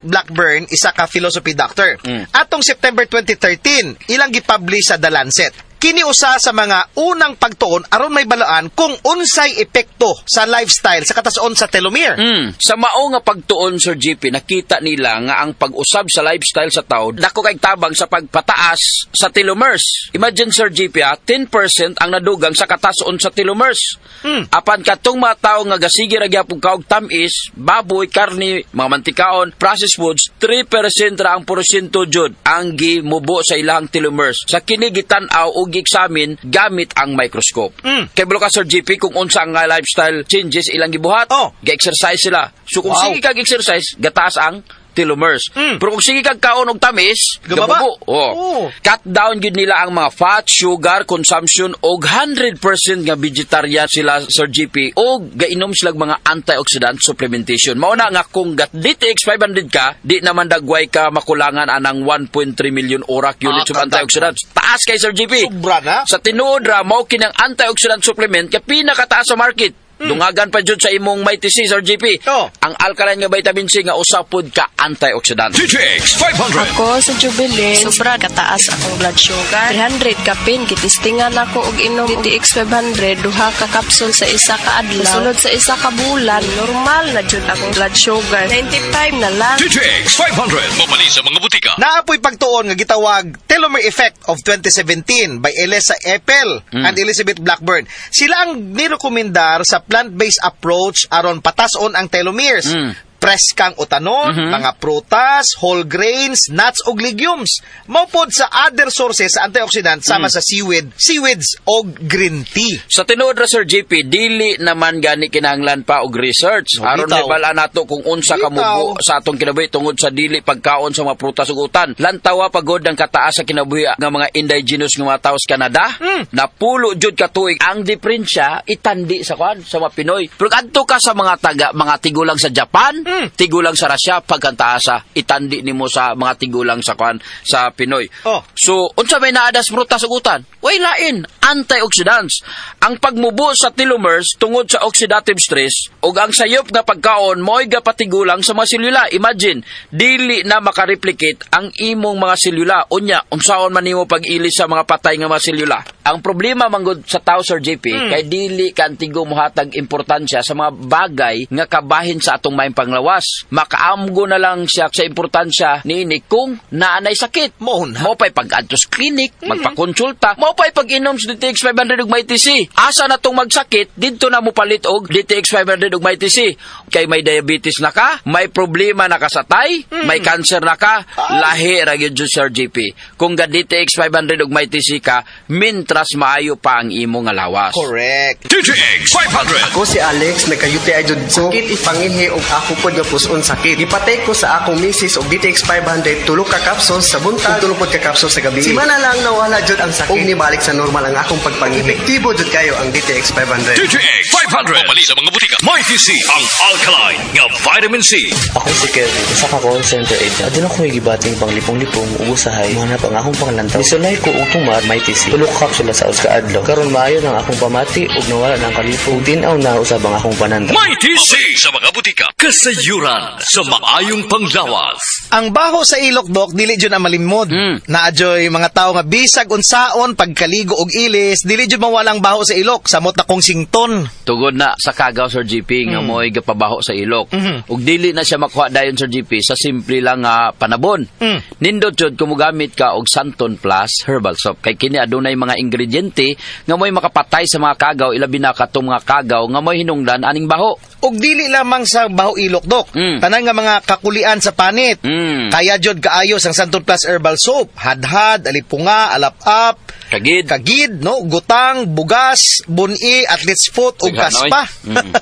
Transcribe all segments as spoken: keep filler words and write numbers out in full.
Blackburn, isa ka philosophy doctor. Mm. Atong September twenty thirteen, ilang gipublish sa The Lancet. Kini usa sa mga unang pagtuon aron mahibalaan kung unsay epekto sa lifestyle sa katason sa telomere. Mm. Sa mao nga pagtuon, Sir G P, nakita nila nga ang pag-usab sa lifestyle sa tao dako kay tabang sa pagpataas sa telomeres. Imagine, Sir G P, ah, ten percent ang nadugang sa katason sa telomeres. Mm. Apan katong mga tao nga gasige ra gyapon kaog tamis, baboy, karni, mga mantikaon, processed foods, three percent ra ang porsyento jud ang gimubo sa ilang telomeres. Sa kini gitan-aw ug gi-examine gamit ang microscope. Mm. Kay ka, Sir G P, kung unsa ang nga lifestyle changes ilang gibuhat. Oh. Ga-exercise sila. So kung Wow. sige kag exercise, gataas ang telomeres. Mm. Pero kung sige kag kaon og tamis, gababa. Gamubo. Oh. Oh. Cut down gyud nila ang mga fat, sugar consumption og one hundred percent nga vegetarian sila, Sir G P, og gainom sila og mga antioxidant supplementation. Mao na nga kung gat D T X five hundred ka, di naman dagway ka makulangan anang one point three million ORAC units Ah, of antioxidants. Taas kay, Sir G P. Sobra na. Sa tinuod ra mao kinang antioxidant supplement kay pinakataas sa market. Dungagan pa jud sa imong Mighty C, Sir G P. Oh. Ang alkaline nga vitamin C nga usa pod ka antioxidant. D T X five hundred. Ako sa Jubilin, sobra kataas akong blood sugar. three hundred kapin, gitistingan ako og inom D T X five hundred, duha ka kapsul sa isa ka adlaw. Sulod sa isa ka bulan, normal na jud akong blood sugar. ninety-five na lang. D T X five hundred. Mabali sa mga butika. Naa poy pagtuon nga gitawag Telomere Effect of twenty seventeen by Elisa Epel and Elizabeth Blackburn. Sila ang nirekomendar sa plant-based approach aron patason ang telomeres. Mm. Preskang utanon, mga prutas, whole grains, nuts ug legumes. Mao pod sa other sources sa antioxidant sama sa seaweed, seaweeds og green tea. Sa tinuod ra, Sir G P, dili naman gani kinahanglan pa og research No, aron bitaw. mahibal-an nato kung unsa ka Bitaw. mubo sa atong kinabuhi tungod sa dili pagkaon sa mga prutas ug utan. Lantawa pagod ang kataas sa kinabuhi nga mga indigenous nga mga tao sa Canada. Hmm. Napulo jud ka tuig ang diferensya itandi sa kwan sa mga Pinoy. Pero adto ka sa mga taga mga tigulang sa Japan, Hmm. tigulang sa Russia, pagkantaasa itandi nimo sa mga tigulang sa kwan sa Pinoy. Oh. So, unsa may naa sa prutas ug utan? Way lain, antioxidants. Ang pagmubo sa telomeres tungod sa oxidative stress ug ang sayop nga pagkaon mo'y gapatigulang sa mga selula. Imagine, dili na makareplicate ang imong mga selula. Unya, unsaon man nimo pag-ilis sa mga patay nga mga selula? Ang problema manggod sa tao, Sir J P, kay dili kantigo mohatag importansya sa mga bagay nga kabahin sa atong maayong panglawas. Makaamgo na lang siya sa importansya niini kung naanay sakit. Mao na. Mao pa'y pag-adto sa clinic, magpakonsulta, mao pa'y pag-inom sa D T X five hundred ug Mighty C. Asa na tong magsakit, didto na mo palit og D T X five hundred ug Mighty C. Kay may diabetes na ka, may problema na ka sa tay, may cancer na ka, lahi ra gyud jud, Sir G P. Kung ga D T X five hundred ug Mighty C ka, mintras maayo pa ang imo nga lawas. Correct. D T X five hundred. Ako si Alex, nagka-U T I jud ko. Sakit ipangihi og ako pod nga puson sakit. Gipatay ko sa akong misis og D T X five hundred, tulo ka capsules sa buntag, ug tulo pod ka capsules sa gabi. Simana lang nawala jud ang sakit. Ug nibalik sa normal ang akong pagpangihi. Epektibo jud kayo ang D T X five hundred. D T X five hundred. Mabali sa mga butika. Mighty C, ang alkaline nga vitamin C. Ako si Kevin, usa ka call center agent. Aduna ko gibating panglipong-lipong ug usahay mohanap ang akong panglantaw. Nisulay ko og tumar Mighty C. Tulo ka kapsula sa usa ka adlaw. Karon maayo nang akong pamati ug nawala na ang kalipong. Ug tin-aw na usab ang akong panantaw. Mighty C sa mga butika. Kasayuran sa maayong panglawas. Ang baho sa ilok, dok, dili jud ang malimod. Mm. Naa joy mga tao nga bisag unsaon pagkaligo og ilis, dili jud mawalang baho sa ilok, samot na kong sington. Tugod na sa kagaw, Sir G P, nga mo'y gapabaho sa ilok. Mhm. Ug dili na siya makuha dayon, Sir G P, sa simple lang nga panabon. Mm. Nindot jud kung mogamit ka og Santon Plus Herbal Soap kay kini adunay mga ingrediente nga mo'y makapatay sa mga kagaw, ilabi na katong mga kagaw nga mo'y hinungdan aning baho. Ug dili lamang sa baho ilok, dok. Mm. Tanan nga mga kakulian sa panit. Mm. Kaya jud kaayo sang Santon Plus Herbal Soap. Hadhad, alipunga, alap-ap, Kagid. kagid, no, gutang, bugas, buni, athlete's foot ug Sighan, kaspa. oy. Mm.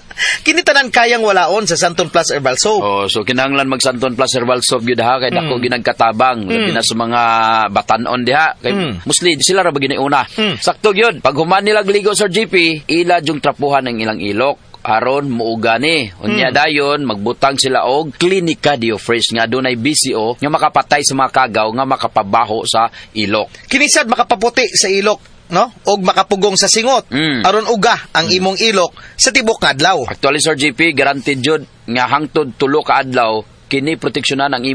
Kini tanan kayang walaon sa Santon Plus Herbal Soap. Oh, so kinahanglan mag Santon Plus Herbal Soap gyud ha kay dako ginagkatabang labi na sa mga batanon diha kay Mm. mostly sila ra ba ginauna. Mm. Sakto gyud. Pag human nila ligo, Sir G P, ila jung trapuhan ang ilang ilok aron muuga ni. Unya dayon magbutang sila og Klinika Dio Fresh nga adunay B C O nga makapatay sa mga kagaw nga makapabaho sa ilok. Kini sad makapaputi sa ilok, no? Og makapugong sa singot. Mm. Aron uga ang imong ilok sa tibok nga adlaw. Actually, Sir G P, guaranteed jud nga hangtod tulo ka adlaw kini proteksyonan ang